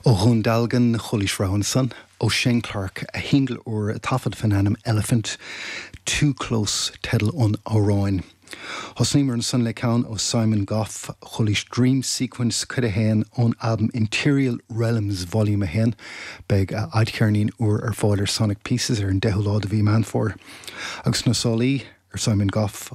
Ó Dhún Dealgan, Chualaís rogha ansan ó Shane Clark, a shingil úr a taifeadadh faoin ainm Elephant, Too Close teideal an amhráin. Thosnaíomar ansan le ceann ó Simon Gough, Chualaís Dream Sequence Cuid 1 ón albam Interial Realms Volume 1. Beidh a fhadcheirnín úr ar fáil ar Sonic Pieces ar an 10ú lá de mhí Meán Fómhair. Agus sna sálaí ar Simon Gough.